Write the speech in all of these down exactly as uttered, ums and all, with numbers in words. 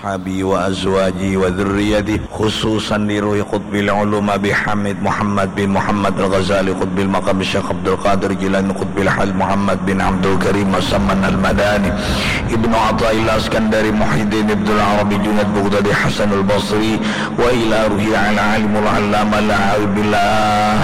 وأصحابه وأزواجه وذريته، خصوصا لروح قطب العلوم أبي حامد محمد بن محمد الغزالي قطب المقام الشيخ عبد القادر جيلاني قطب الحال محمد بن عبد الكريم مسمن المدني ابن عطاء الله الإسكندري محي الدين ابن العربي جنيد بغدادي حسن البصري وإلى روح العالم العلامة العارف بالله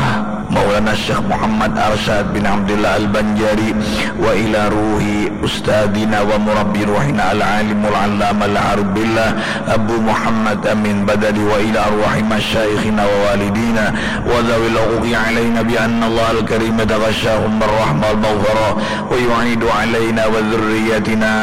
مولانا الشيخ محمد أرشاد بن عبد الله البنجاري وإلى روح أستاذنا ومربي روحنا العالم العلامة العارف بالله أبو محمد أمين بدوي وإلى أرواح مشايخنا ووالدينا وذوي الحقوق علينا بأن الله الكريم يتغشاهم بالرحمة والمغفرة ويعيد علينا وذريتنا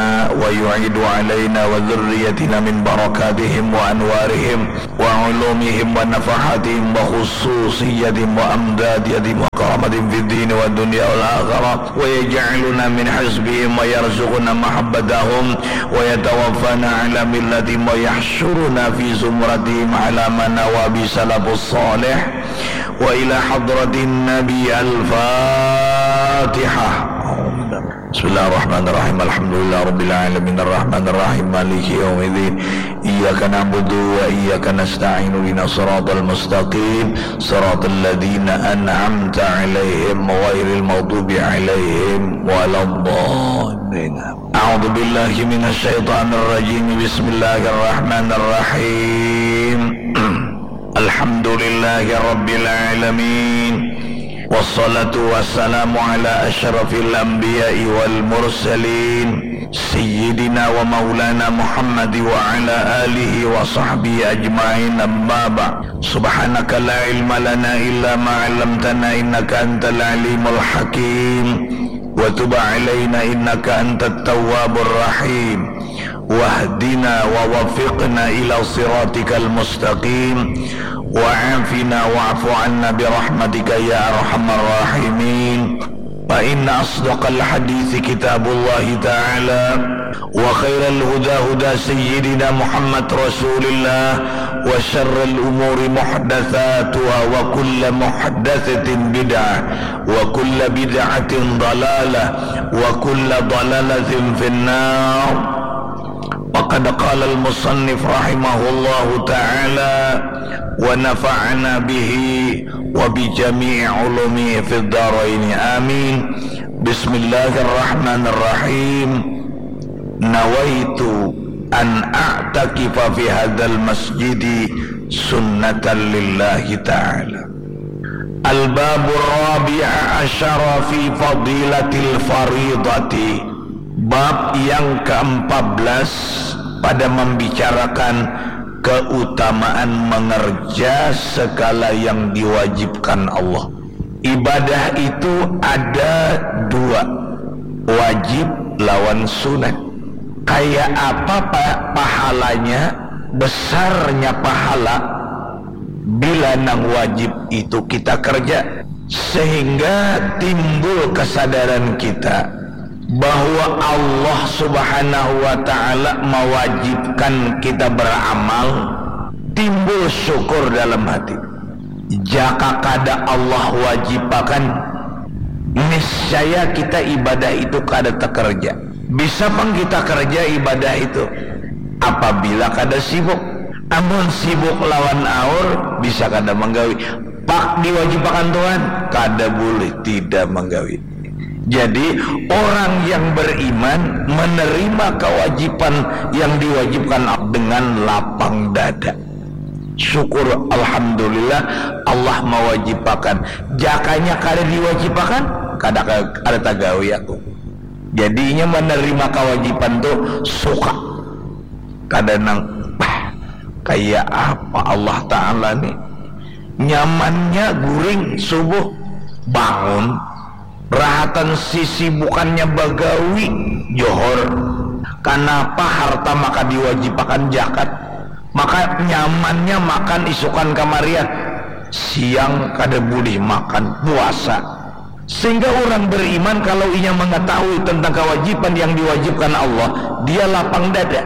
ويعيد علينا وذريتنا من بركاتهم وأنوارهم وعلومهم ونفحاتهم وخصوصيتهم وأمدادهم وكرامتهم في الدين والدنيا والآخرة ويجعلنا من حزبهم ويرزقنا محبتهم ويتوفانا على ملتهم ويحشرنا في زمرتهم على ما نوى به السلف الصالح وإلى حضرة النبي الفاتحة. بسم الله الرحمن الرحيم. الحمد لله رب العالمين. الرحمن الرحيم. مالك يوم الدين. إياك نعبد وإياك نستعين. اهدنا الصراط المستقيم. صراط الذين أنعمت عليهم غير المغضوب عليهم ولا الضالين. أعوذ بالله من الشيطان الرجيم. بسم الله الرحمن الرحيم. الحمد لله رب العالمين. والصلاة والسلام على أشرف الأنبياء والمرسلين سيدنا ومولانا محمد وعلى آله وصحبه أجمعين. أما بعد. سبحانك لا علم لنا إلا ما علمتنا إنك أنت العليم الحكيم. وتب علينا إنك أنت التواب الرحيم. واهدنا ووفقنا إلى صراطك المستقيم. وعافنا واعف عنا برحمتك يا أرحم الراحمين. فإن أصدق الحديث كتاب الله تعالى، وخير الهدى هدى سيدنا محمد رسول الله، وشر الأمور محدثاتها، وكل محدثة بدعة، وكل بدعة ضلالة، وكل ضلالة في النار. وقد قال المصنف رحمه الله تعالى، ونفعنا به وبجميع علومه في الدارين. آمين. بسم الله الرحمن الرحيم. نويت أن أعتكف في هذا المسجد سنة لله تعالى. الباب الرابع عشر في فضيلة الفريضة. Bab yang keempat belas pada membicarakan keutamaan mengerja segala yang diwajibkan Allah. Ibadah itu ada dua, wajib lawan sunat. Kayak apa pa-, pahalanya, besarnya pahala bila nang wajib itu kita kerja, sehingga timbul kesadaran kita bahwa Allah Subhanahu wa Ta'ala mewajibkan kita beramal, timbul syukur dalam hati. Jaka kada Allah wajibakan, niscaya kita ibadah itu kada takerja. Bisa pang kita kerja ibadah itu apabila kada sibuk. Amun sibuk lawan aur, bisa kada manggawi. Pak diwajibakan Tuhan, kada boleh tidak manggawi. Jadi, orang yang beriman menerima kewajiban yang diwajibkan dengan lapang dada. Syukur, alhamdulillah, Allah mewajibakan. Jakanya kada diwajibakan, kada, kada tagawi aku. Jadinya menerima kewajiban tu suka. Kada nang, "Bah, kayak apa Allah Ta'ala ni? Nyamannya guring subuh, bangun, rahatan sisi bukannya bagawi, johor. Kanapa harta maka diwajibakan jakat? Maka nyamannya makan isukan kamarian, siang kada boleh makan, puasa." Sehingga orang beriman, kalau inya mengetahui tentang kewajiban yang diwajibkan Allah, dia lapang dada.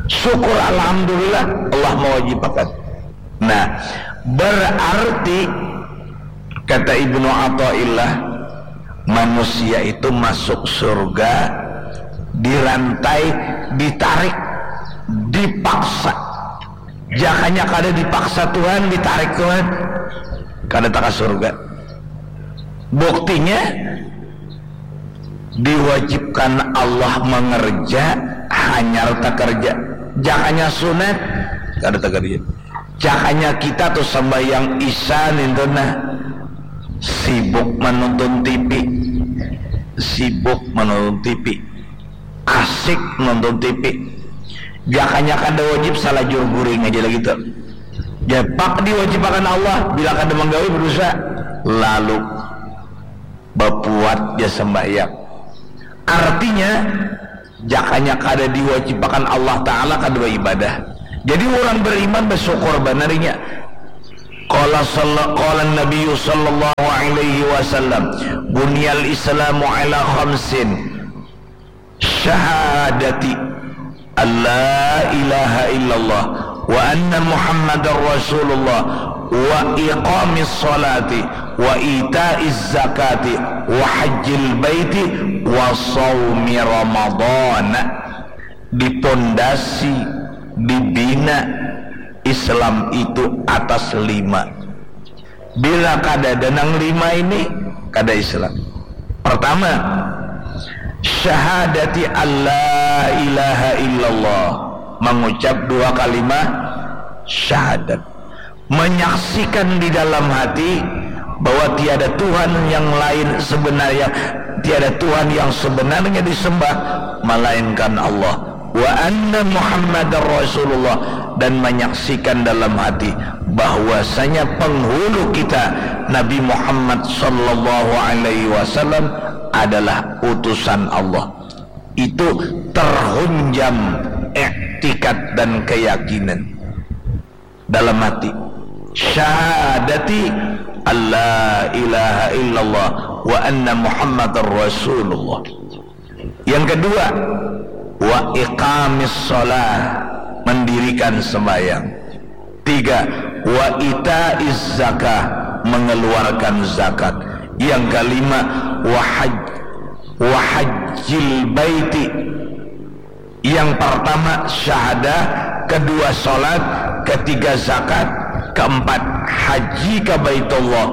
Syukur, alhamdulillah, Allah mewajibakan. Nah, berarti, kata Ibnu Athaillah, manusia itu masuk surga dirantai, ditarik. Dipaksa. Jakanya kada dipaksa Tuhan, ditarik Tuhan, kada taka surga. Buktinya, diwajibkan Allah mengerja, hanyar takerja. Jakanya sunat, kada takerja. Jakanya kita tu sambahyang isya nintu nah, sibuk manonton T V. Sibuk manonton T V. Asik nonton T V. Jakanya kada wajib, salajur guring aja lagi tu. Japak diwajibakan Allah, bila kada manggawi berdosa. Lalu bapuat ja sembahyang. Artinya, jakanya kada diwajibakan Allah Ta'ala kada beribadah. Jadi orang beriman bersyukur banar inya. Qala salla-, qala Nabi sallallahu alaihi wasallam, "Buniyal Islamu ala khamsin, syahadati an la ilaha illallah wa anna Muhammadar Rasulullah wa iqamis salati wa itaiz zakati wa hajjil baiti wa saumi Ramadan." Dipondasi, dibina Islam itu atas lima. Bila kada ada nang lima ini, kada Islam. Pertama, syahadati alla ilaha illallah, mengucap dua kalimat syahadat, menyaksikan di dalam hati bahwa tiada Tuhan yang lain sebenarnya, tiada Tuhan yang sebenarnya disembah melainkan Allah. Wa anna Muhammadar Rasulullah, dan menyaksikan dalam hati bahwasanya penghulu kita Nabi Muhammad sallallahu alaihi wasallam adalah utusan Allah. Itu terhunjam iktikad dan keyakinan dalam hati. Syahadati alla ilaha illallah wa anna Muhammadar Rasulullah. Yang kedua, wa iqamis shalah, mendirikan sembahyang. Tiga, wa itaiz zakah, mengeluarkan zakat. Yang kelima, wa haj-, wa hajjil baiti. Yang pertama syahadah, kedua salat, ketiga zakat, keempat haji ka Baitullah,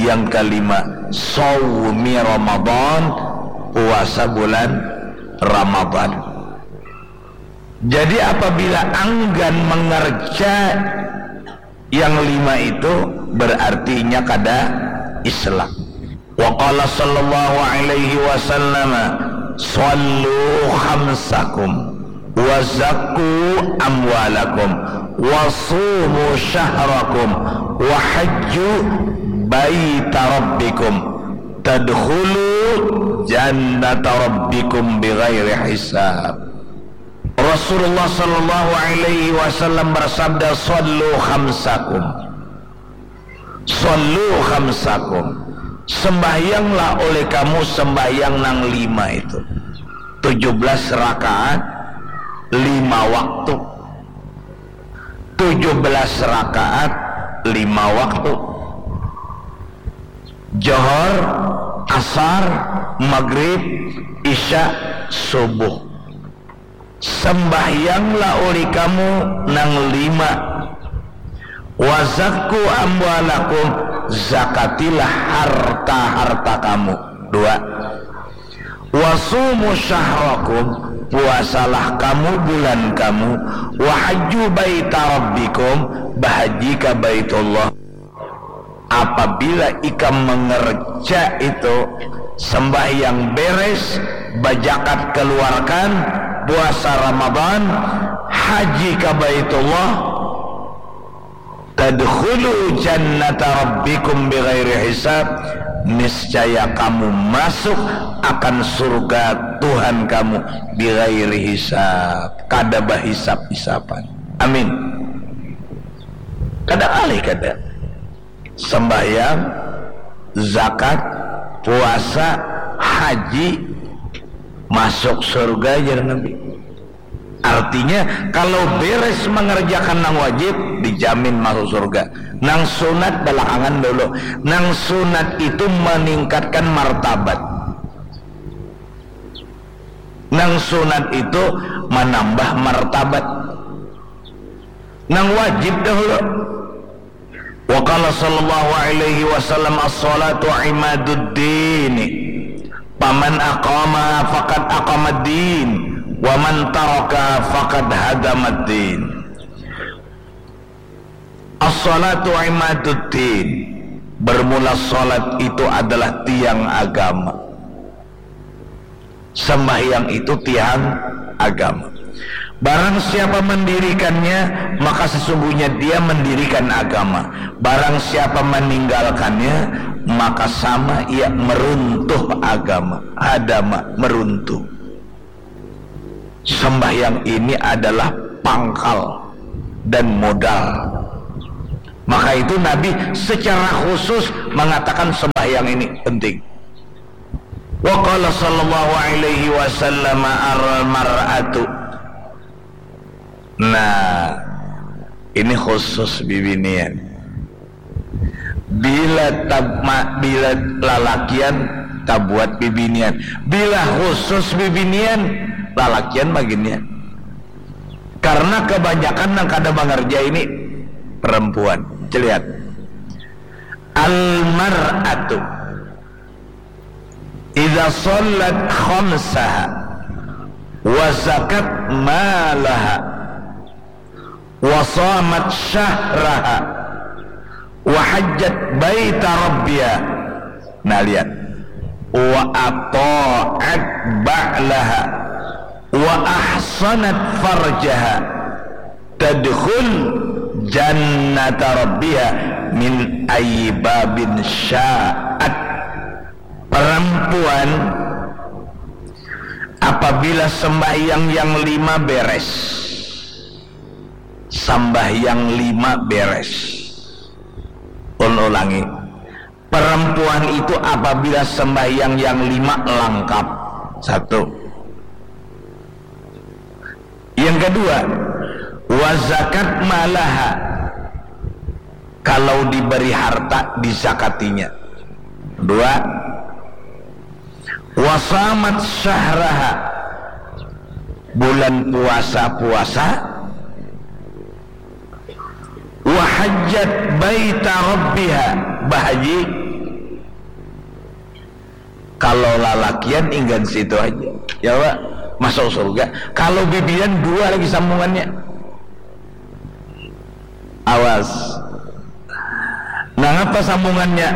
yang kelima saumi Ramadan, puasa bulan Ramadan. Jadi apabila anggan mengerja yang lima itu, berarti inya kada Islam. Wa qala sallallahu alaihi wasallam, "Shallu khamsakum, wa zakku amwalakum, wa sumu syahrakum, wa hajju baita rabbikum, tadkhulu jannata rabbikum bighairi hisab." Rasulullah sallallahu alaihi wasallam bersabda, "Shallu khamsakum." "Shallu khamsakum." Sembahyanglah oleh kamu sembahyang nang lima itu. Tujuh belas rakaat, lima waktu. Tujuh belas rakaat, lima waktu. Johor, asar, maghrib, isya, subuh. Sembahyanglah oleh kamu nang lima. Wa zakku amwalakum, zakatilah harta-harta kamu. Dua. Wa sumu syahrakum, puasalah kamu bulan kamu. Wa hajju baita rabbikum, bahaji ka Baitullah. Apabila ikam mengerja itu, sembahyang beres, bajakat keluarkan, puasa Ramadan, haji ka Baitullah, tadkhulu jannata rabbikum bighairi hisab, niscaya kamu masuk akan surga Tuhan kamu bighairi hisab, kada bahisab-hisaban. Amin. Kada ngalih kada. Sembahyang, zakat, puasa, haji, masuk surga, jar Nabi. Artinya, kalau beres mengerjakan nang wajib, dijamin masuk surga. Nang sunat belakangan dulu. Nang sunat itu meningkatkan martabat. Nang sunat itu manambah martabat. Nang wajib dahulu. Wa qala sallallahu alaihi wasallam, "As-salatu imaduddin. Faman aqamaha faqad aqamaddin. Wa man tarakaha faqad hadamaddin." As-salatu imaduddin. Bermula salat itu adalah tiang agama. Sembahyang itu tiang agama. Barang siapa mendirikannya, maka sesungguhnya dia mendirikan agama. Barang siapa meninggalkannya, maka sama ia meruntuh agama. Hadama, meruntuh. Sembahyang ini adalah pangkal dan modal. Maka itu Nabi secara khusus mengatakan sembahyang ini penting. Wa qala sallallahu alaihi wasallam, "Al-mar'atu." Nah, ini khusus bibinian. Bila tab-, ma-, bila lalakian tabuat bibinian. Bila khusus bibinian, lalakian baginian. Karena kebanyakan nang kada mangerja ini perempuan. Celihat. Al-mar'atu idza shallat khamsaha wa zakat malaha wa shamat syahraha wa hajjat baita rabbiha. Nah, lihat. Wa ata'at ba'laha wa ahsanat farjaha tadkhul jannata rabbiha min ayyi babin sya'at. Perempuan apabila sembahyang yang lima beres, sembahyang lima beres. Ulun ulangi, perempuan itu apabila sembahyang yang lima lengkap, satu. Yang kedua, wa zakat malaha, kalau diberi harta dizakatinya. Dua, wa shamat syahraha, bulan puasa puasa. Wa hajjat baita rabbiha, bahaji. Kalau lalakian inggan situ aja, ya Pak, masuk surga. Kalau bibian dua lagi sambungannya. Awas. Nangapa sambungannya?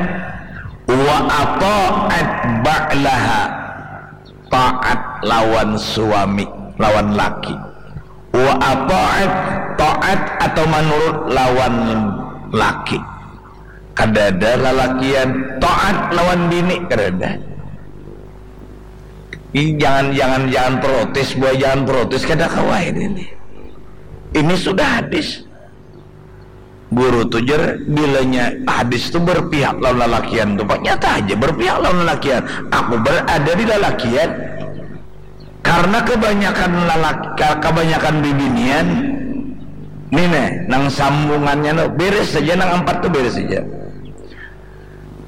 Wa ata'at ba'laha, taat lawan suami, lawan laki. Wa ata'at, taat atau manurut lawan laki. Kadada lalakian taat lawan bini, kadada. Ini jangan, jangan, jangan protes, buah jangan protes, kada kawa ini. Ini sudah hadis. Guru tu jar, bilanya hadis tu berpihak lawan lalakian tu, Pak, nyata aja berpihak lawan lalakian. Aku berada di lalakian. Karena kebanyakan lalaki, kebanyakan bibinian ni neh, nang sambungannya no, beres saja, nang empat tu beres saja.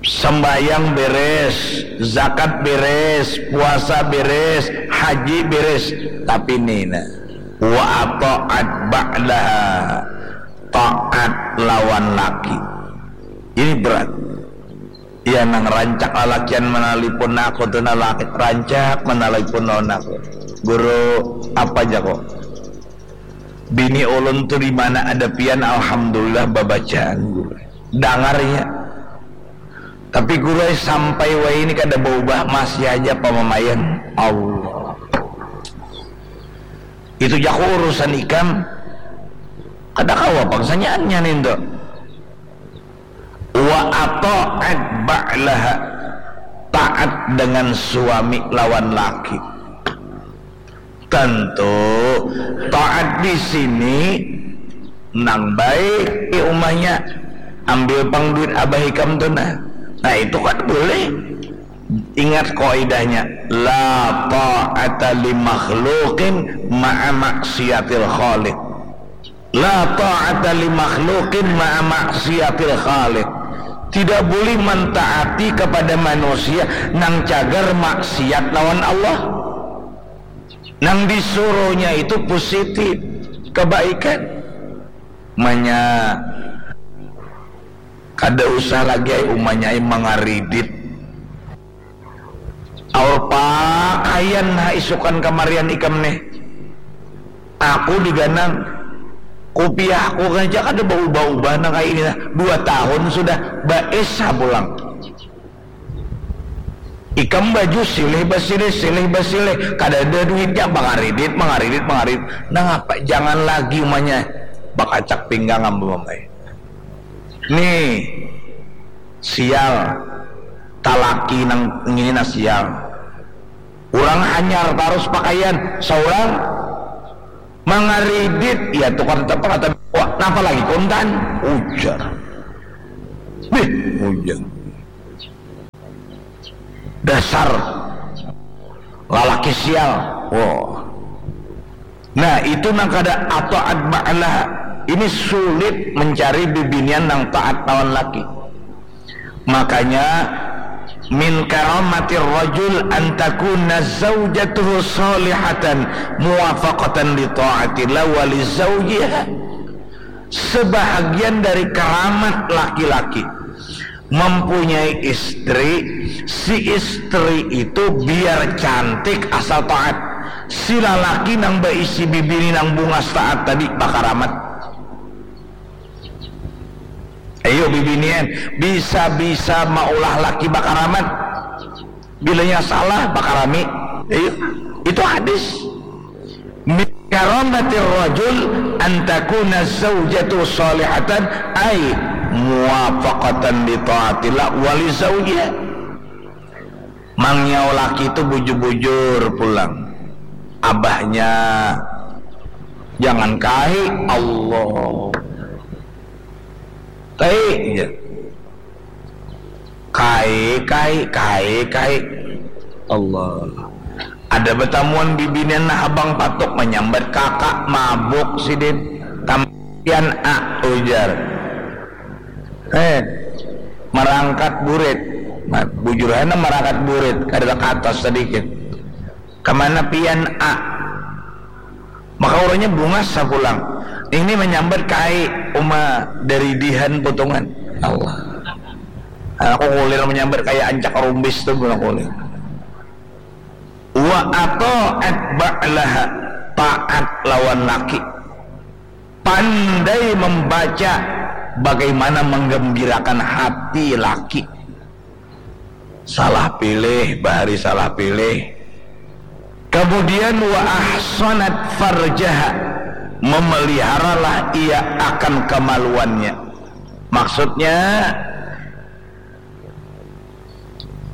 Sembahyang beres, zakat beres, puasa beres, haji beres, tapi ni nah, wa ata'at ba'laha, taat lawan laki. Ini berat. Ya, nang rancak lalakian manalipun aku tu, nalaki rancak manalipun lawan aku. Guru, apa ja kok? Bini ulun tu di mana ada pian, alhamdulillah babacaan, guru. Dangarnya. Tapi guru ai sampai wayah ini kada baubah, masih aja pamamaian. Allah. Itu jaku urusan ikam. Kada kawa pang sanyaannya nintu. Wa ata'at ba'laha, taat dengan suami lawan laki. Tentu taat di sini nang baik di umahnya, ambil pang duit abah ikam tu nah. Nah, itu kan boleh. Ingat kaidahnya, la ta'ata li makhluqin ma'a maksiatil khaliq. La ta'ata li makhluqin ma'a maksiatil khaliq. Tidak boleh mentaati kepada manusia nang cagar maksiat lawan Allah. Nang disuruhnya itu positif, kebaikan. Umanya kada usah lagi ai umanya ai mangaridit. Aur pakaian ha isukan kamarian ikam nih. Aku diganang kupiahku aja kada baubah-ubah nang kayak ini nah. Dua tahun sudah baes ha pulang. Ikam baju silih basilih silih basilih, kada ada duitnya, mangaridit mangaridit mangaridit. Nangapa jangan lagi umanya bakacak pinggang amba mamai. Nih sial, talaki nang ngini nah sial. Urang hanyar tarus pakaian, saurang mangaridit, ya tukar tempat kata, wah, napa lagi kontan? Ujar. Bih, ujar. Dasar lalaki sial. Wah. Nah, itu nang kada ataat ba'laha. Ini sulit mencari bibinian nang taat lawan laki. Makanya min karamatir rajul antakuna zaujatuhu salihatan muwafaqatan li ta'atillah wa li zaujiha. Sebahagian dari keramat laki-laki mempunyai istri, si istri itu biar cantik asal taat. Si lalaki nang baisi bibini nang bungas taat tadi bakaramat. Ayo bibinian, bisa-bisa maulah laki bakaramat. Bilanya salah bakarami. Ayo, itu hadis. Min karamatir rajul antakuna zaujatu salihatan ay muwafaqatan li taatillah wali zaujiha. Mangyau laki tu bujur-bujur pulang. Abahnya jangan kai Allah. Kai ja. Kai kai kai kai. Allah. Ada batamuan bibinian nah habang patuk manyambat kakak mabuk sidin. Tampian A ujar. Eh, marangkat burit. Nah, bujur hana marangkat burit, kada ka atas sadikit. Kamana pian A? Maka urangnya bungas sapulang. Ini manyambat kai uma dari dihan potongan. Allah. Aku kulir manyambat kaya ancak rumbis tu guna kulir. Wa ata'at ba'laha, taat lawan laki. Pandai membaca bagaimana menggembirakan hati laki. Salah pilih, bahari salah pilih. Kemudian wa ahsanat farjaha, memeliharalah ia akan kemaluannya. Maksudnya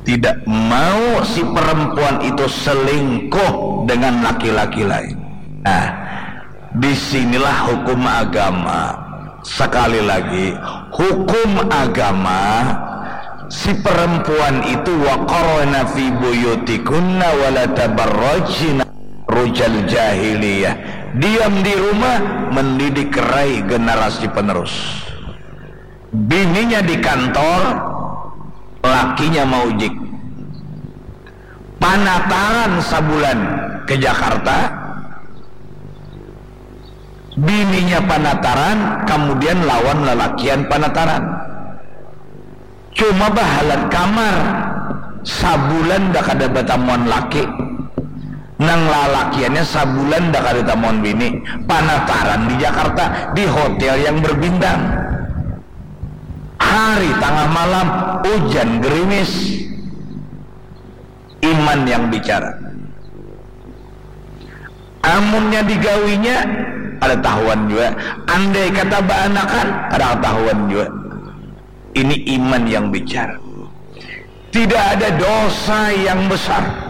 tidak mau si perempuan itu selingkuh dengan laki-laki lain. Nah, di sinilah hukum agama. Sekali lagi, hukum agama si perempuan itu waqarna fi buyutikunna wala tabarrajna rujal jahiliyah. Diam di rumah mendidik rai generasi penerus. Bininya di kantor, lakinya maujik. Panataran sabulan ke Jakarta, bininya panataran, kemudian lawan lalakian panataran. Cuma bahalat kamar, sabulan dah kada batamuan laki. Nang lalakiannya sabulan dah kada tamuan bini, panataran di Jakarta, di hotel yang berbintang. Hari tangah malam, ujan gerimis. Iman yang bicara. Amunnya digawinya, kada tahuan jua. Andai kata baanakan, kada katahuan jua. Ini iman yang bicara. Tidak ada dosa yang besar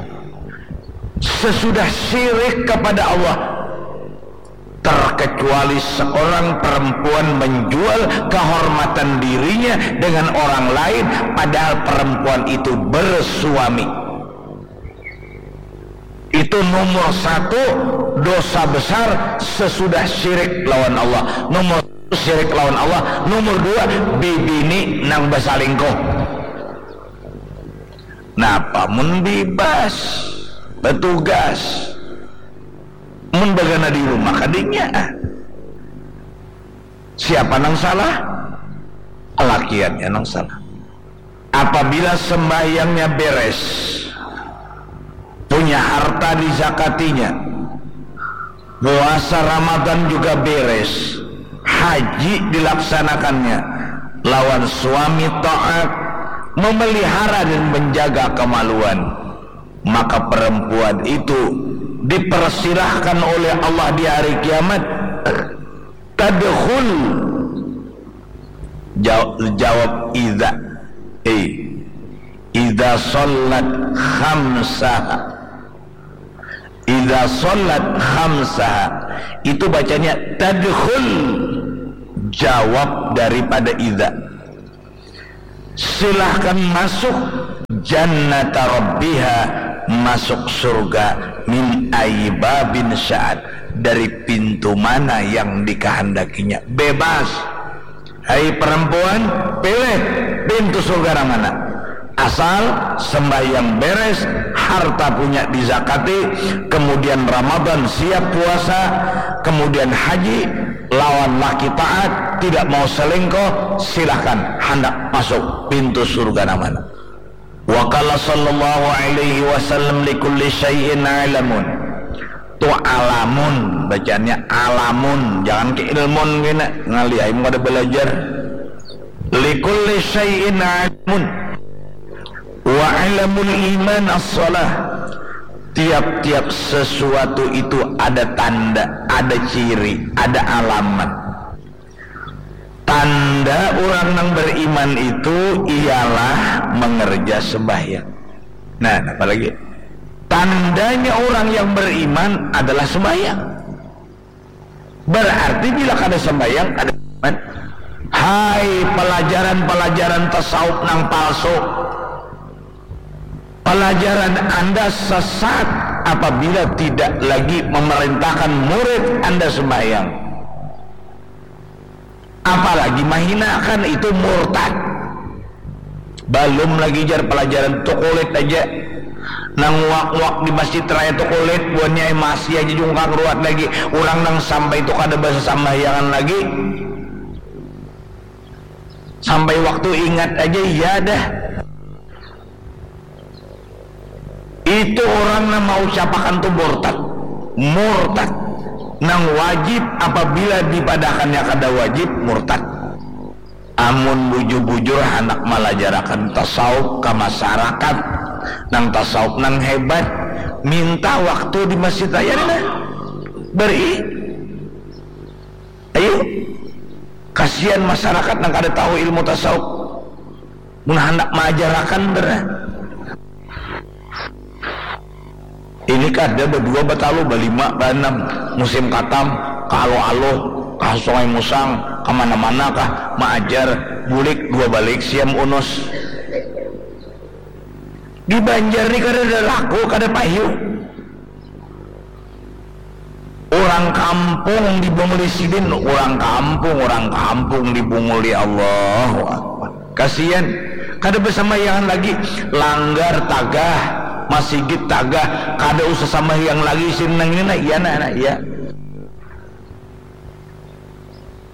sesudah syirik kepada Allah, terkecuali seorang perempuan menjual kehormatan dirinya dengan orang lain, padahal perempuan itu bersuami. Itu nomor satu dosa besar sesudah syirik lawan Allah. Nomor satu syirik lawan Allah. Nomor dua, bibini nang basalingkuh. Napa mun bibas, batugas, mun bagana di rumah kadinya. Siapa nang salah? Lakiannya nang salah. Apabila sembahyangnya beres, punya harta dizakatinya, puasa Ramadan juga beres, haji dilaksanakannya, lawan suami taat, memelihara dan menjaga kemaluan, maka perempuan itu dipersilahkan oleh Allah di hari kiamat. Tadkhul. Jaw- jawab idza. Eh, idza shallat khamsaha. Idza shallat khamsaha. Itu bacanya tadkhul. Jawab daripada idza. Silahkan masuk jannata rabbiha, masuk surga, min ayyi babin sya'at, dari pintu mana yang dikehendakinya. Bebas. Hai perempuan, pilih pintu surga nang mana. Asal sembahyang beres, harta punya dizakati, kemudian Ramadan siap puasa, kemudian haji, lawan laki taat, tidak mau selingkuh, silahkan handak masuk pintu surga nang mana. Wa qala sallallahu alaihi wasallam likulli syai'in alamun. Tu alamun, bacaannya alamun, jangan ke ilmun kena. Ngalih ai mun kada balajar. Likulli syai'in alamun. Wa alamul iman as-shalah. Tiap-tiap sesuatu itu ada tanda, ada ciri, ada alamat. Tanda urang nang beriman itu ialah mengerja sembahyang. Nah, apa lagi? Tandanya urang yang beriman adalah sembahyang. Berarti bila kada sembahyang, kada iman. Hai pelajaran-pelajaran tasawuf nang palsu. Pelajaran Anda sesat apabila tidak lagi memerintahkan murid Anda sembahyang. Apalagi mahinakan, itu murtad. Balum lagi jar pelajaran tu kulit aja. Nang wak-wak di Masjid Raya tu kulit, buhannya masih aja jungkang ruat lagi. Urang nang sampai tu kada basasambahyangan lagi. Sampai waktu ingat aja, iya dah. Itu urang nang maucapakan tu murtad. Murtad. Nang wajib apabila dipadahakannya kada wajib, murtad. Amun bujur-bujur handak malajarakan tasawuf ka masarakat, nang tasawuf nang hebat, minta waktu di Masjid Raya ni nah. Bari. Ayu. Kasian masarakat nang kada tahu ilmu tasawuf. Mun handak maajarakan, ber-, ini kada badua, batalu, balima, baanam, musim katam, ka Aluh-Aluh, ka Sungai Musang, ka mana-mana kah, maajar, bulik dua balik siam unus. Di Banjar ni kadada laku, kada payu. Urang kampung di Bunguli sidin, urang kampung, urang kampung di Bunguli, Allahu Akbar. Kasian, kada basambahyangan lagi, langgar tagah, masigit tagah, kada usah sambahyang lagi sidin nang ini, nah, iya, nah, nah, iya.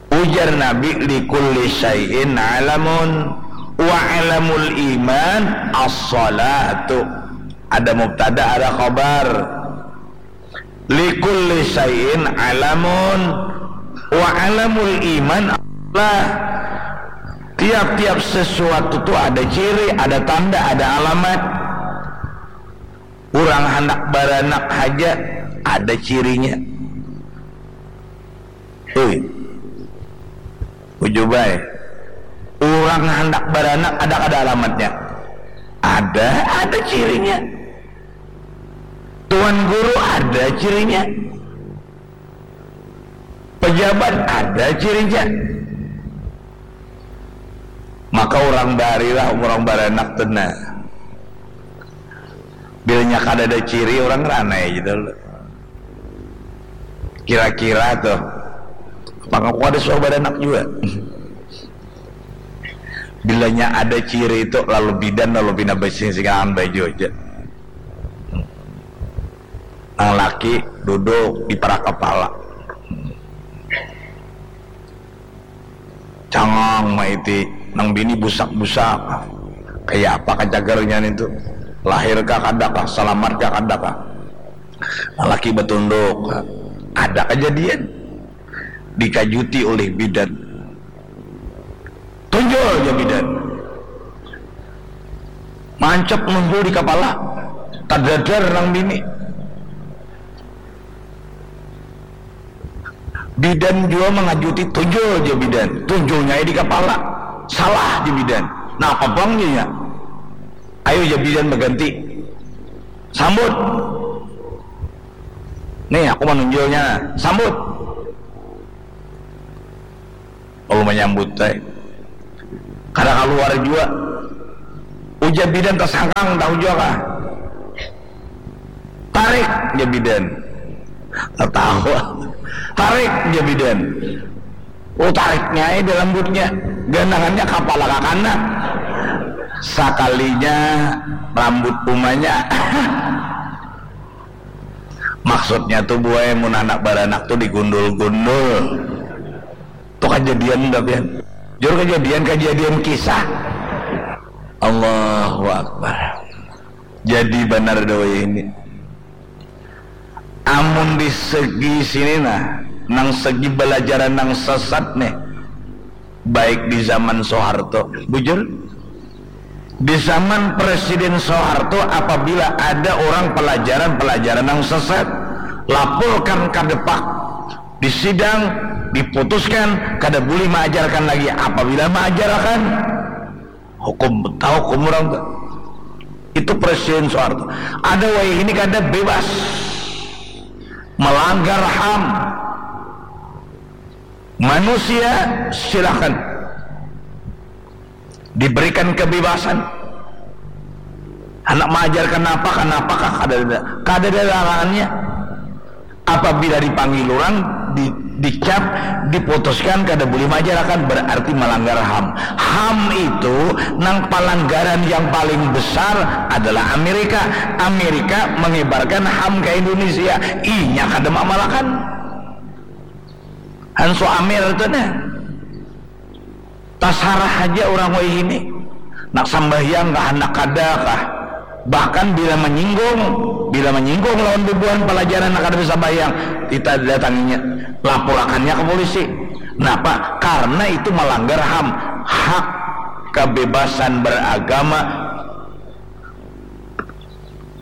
Ujar Nabi, "Likulli syai'in alamun, wa alamul iman as-salatu." Ada mubtada, ada khabar. "Likulli syai'in alamun, wa alamul iman as-salah." Tiap-tiap sesuatu tu ada ciri, ada tanda, ada alamat. Urang handak baranak haja ada cirinya. Ui. Ujubai. Urang handak baranak ada kada alamatnya? Ada, ada cirinya. Tuan guru ada cirinya. Pejabat ada cirinya. Maka urang barilah urang baranak tu nah. Bilanya kadada ciri, urang ranai aja dulu. Kira-kira tuh, apa aku kada suah baranak jua? Bilanya ada ciri itu, lalu bidan, lalu pina basing-singangan baju aja. Nang laki duduk di parak kapala. Cangang maiti nang bini busak-busak. Kaya apa kacagarnya nitu? Lahir kah kada kah? Salamat kah kada kah? Laki batunduk. Ada kajadian. Dikajuti ulih bidan. Tunjul ja bidan. Mancap nunjul di kapala. Tadadar nang bini. Bidan jua mangajuti, tunjul ja bidan. Tunjulnya di kapala. Salah ja bidan. Napa pang nya? Ayu ja bidan baganti. Sambut. Nih, aku manunjulnya. Sambut. Lalu manyambut ai. Kada kaluar jua. Ujar bidan, tasangkang tahu jua kah? Tarik, jar bidan. Tatawa. Tarik, jar bidan. Oh, tariknya ai di rambutnya. Ganangannya kapala kakana. Sakalinya rambut umanya. Maksudnya tuh, buai, mun anak baranak tuh digundul-gundul. Tuh kajadian, tapi jur kajadian, kajadian kisah. Allahu Akbar. Jadi banar dah wayah ini. Amun di segi sini nah, nang segi balajaran nang sesat nih, baik di zaman Soeharto, bujur, di zaman Presiden Soeharto, apabila ada orang pelajaran-pelajaran nang sesat, laporkan ka Depak, di sidang, diputuskan kada boleh maajarkan lagi. Apabila maajarkan, hukum, tahu hukum orang tu. Itu Presiden Soeharto. Ada wayah ini kada, bebas. Melanggar ham. Manusia, silakan. Diberikan kebebasan. Anak maajarkan apa, kanapa kah, kada ada, kada ada larangannya. Apabila dipanggil orang, di, dicap, diputuskan kada boleh maajarakan, berarti melanggar ham. Ham itu nang pelanggaran yang paling besar adalah Amerika. Amerika mengibarkan ham ke Indonesia. Inya kada maamalakan. Hansu Amir itu nah. Tasarah haja urang wayah ini. Nak sambahyang kah, handak kada kah. Bahkan bila manyinggung, bila manyinggung lawan bubuhan palajaran nang kada basambahyang, kita datanginya, lapurakannya ka polisi. Napa? Karna itu malanggar ham, hak kebebasan beragama.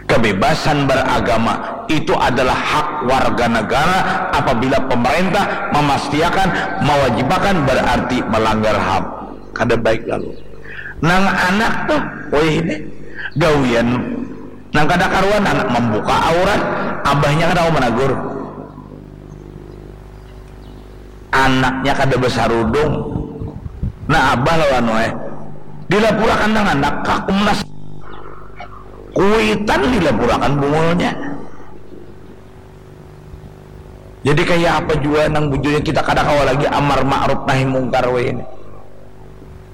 Kebebasan beragama itu adalah hak warga negara. Apabila pemerintah memastiakan, mewajibakan, berarti melanggar ham. Kada baik lalu. Nang anak tuh, wayah ini gawian nang kada karuan, anak membuka aurat, abahnya kada mau menegur. Anaknya kada besarudung. Nah, abah lawan wae. Dilapurakan nang anak ka Komnas. Kuitan dilapurakan bungulnya. Jadi kaya apa jua nang bujurnya, kita kada kawa lagi amar ma'ruf nahi mungkar weh ini.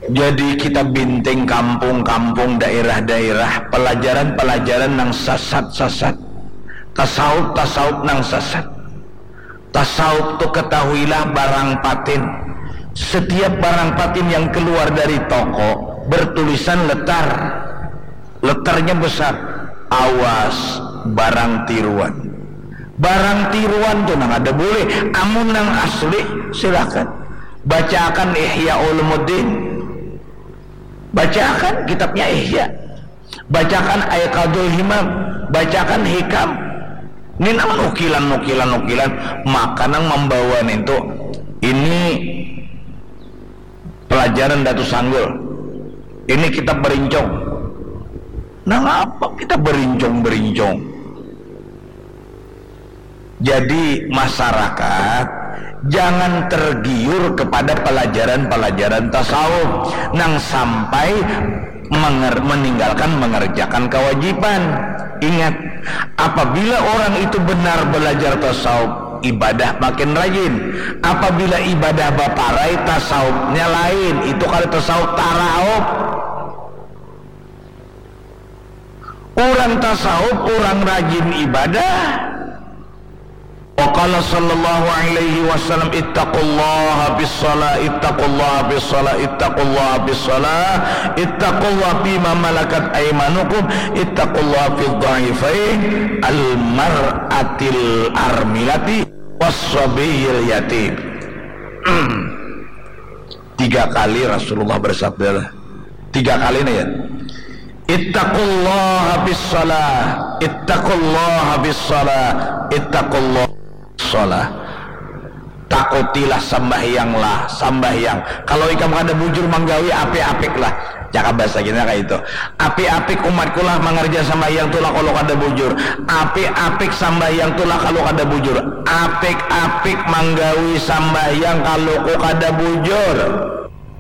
Jadi kita binting kampung-kampung, daerah-daerah, pelajaran-pelajaran nang sasat-sasat, tasawuf-tasawuf nang sasat. Tasawuf tu ketahuilah barang patin. Setiap barang patin yang keluar dari toko bertulisan letar. Letarnya besar. Awas barang tiruan. Barang tiruan tu nang ada boleh. Amun nang asli, silakan. Bacaakan Ihya Ulumuddin. Bacaakan kitabnya Ihya. Bacaakan Aiqadul Himam. Bacaakan Hikam. Ini nang nukilan, nukilan, nukilan. Maka nang membawa nintu, ini pelajaran Datu Sanggul. Ini kitab berincong. Nang apa kita berincong-berincong? Jadi masyarakat jangan tergiur kepada pelajaran-pelajaran tasawuf nang sampai menger- meninggalkan mengerjakan kewajiban. Ingat, apabila orang itu benar belajar tasawuf, ibadah makin rajin. Apabila ibadah baparai, tasawufnya lain. Itu kada tasawuf, taraup. Orang tasawuf, orang rajin ibadah, Wa qala sallallahu alaihi wasallam, "Ittaqullaha bis shalah, ittaqullaha bis shalah, ittaqullaha bis shalah, ittaqullaha fima malakat aimanukum, ittaqullaha fid dhaifain, al mar'atil armilati was sabiyil yatim." Tiga kali Rasulullah bersabda, tiga kali nih ya. "Ittaqullaha bis shalah, ittaqullaha bis shalah, ittaqullaha bis shalah." Takutilah, sambahyanglah, sambahyang. Kalau ikam kada bujur manggawi, apik-apiklah. Cakap bahasa kita kayak itu. Apik-apik umatku lah mangerja sambahyang tu lah kalau kada bujur. Apik-apik sambahyang tu lah kalau kada bujur. Apik-apik manggawi sambahyang kalau ku kada bujur.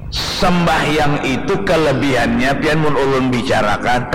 Sembahyang itu kelebihannya, pian, mun ulun bicarakan,